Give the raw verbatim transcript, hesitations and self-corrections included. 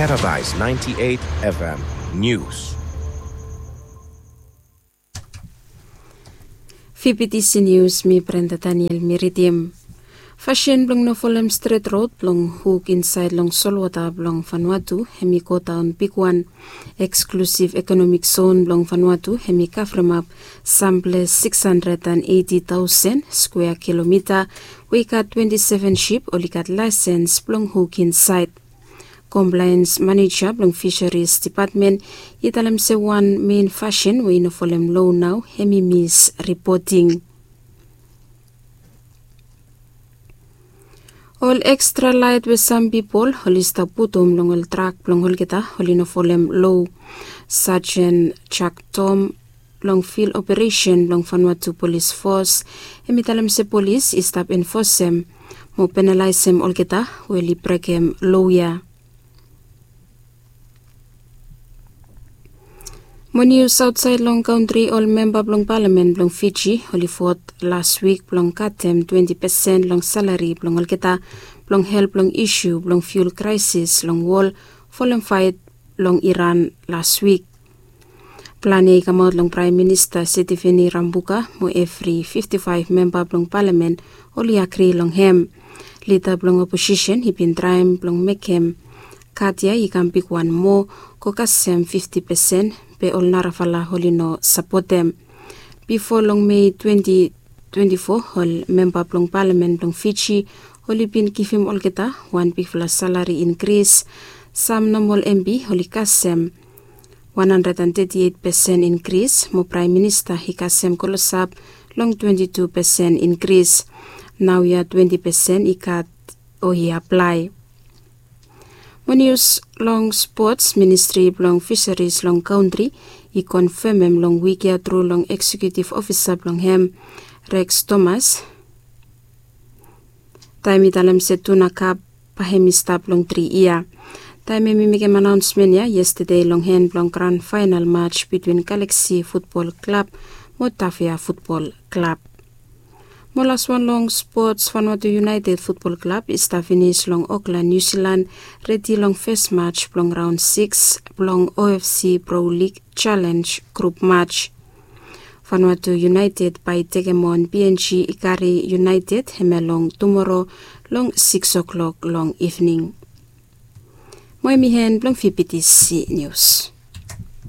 Paradise ninety-eight F M News. Fifty News, mi Brenda Daniel mi ridim. Fasin blong no folem stret rod blong huk insaed long solwota blong Vanuatu hem i godaon bigwan. Eksklusiv ekonomik zon blong Vanuatu hem i kavremap samples sikis handred and eiti taosen skwea kilomita, we i gat twenti seven sip oli gat laesens blong huk insaed. Komplaens maneja blong Fisheries Depatmen i talem se wan mein fasin we i no folem loa nao hem i mis ripoting. Ol ekstra laet we sam pipol oli stap putum long ol trak blong olgeta oli no folem loa. Sajen Jak Tom long fil operesen blong Vanuatu Polis Fos hem i talem se polis i stap enfosem mo penalaesem olgeta we oli brekem loa ya. Mo nius aotsaed long kantri, ol memba blong palamen blong Fiji oli vot las wik blong katem twenti pesen long salari blong olgeta blong help long isu blong fiul kraesis long wol folem faet long Iran las wik. Plan ya i kamaot long Praem Minista Sitiveni Rabuka mo evri fifti faef memba blong palamen oli agri long hem. Lida blong oposisen i bin traem blong mekem kat ya i kam bigwan moa, go kasem fifti pesen, be ol narafala oli no sapotem. Bifo long Mei twenti twenti fo, ol memba blong palamen blong Fiji oli bin givim olgeta wan bigfala salari inkris. Sam nomol MP oli kasem wan handred and teti eit pesen inkris, mo Praem Minista i kasem klosap long twenti tu pesen inkris. Naoia twenti pesen i gat o i aplae. Mo nius long spots, Ministri blong Fisaris long kantri i konfemem long wik ya tru long eksekiutiv ofisa blong hem, Rex Thomas, taem i talem se tuna kap bae hem i stap long tri yia. Taem hem i mekem anaonsmen ya yestade long hen blong gran faenal maj bitwin Galaksi Futbol Klab mo Tafea Futbol Klab. Mo laswan long spots, Vanuatu United Futbol Klab i stap finis long Okland, Niu Silan, redi long fes maj blong raon sikis blong OFC Pro Lig Challenge grup maj. Vanuatu United bae i tekem on PNG Ikari United hemia long tumoro long sikis oklok long ivning. Mo hem i hen blong VBTC Nius.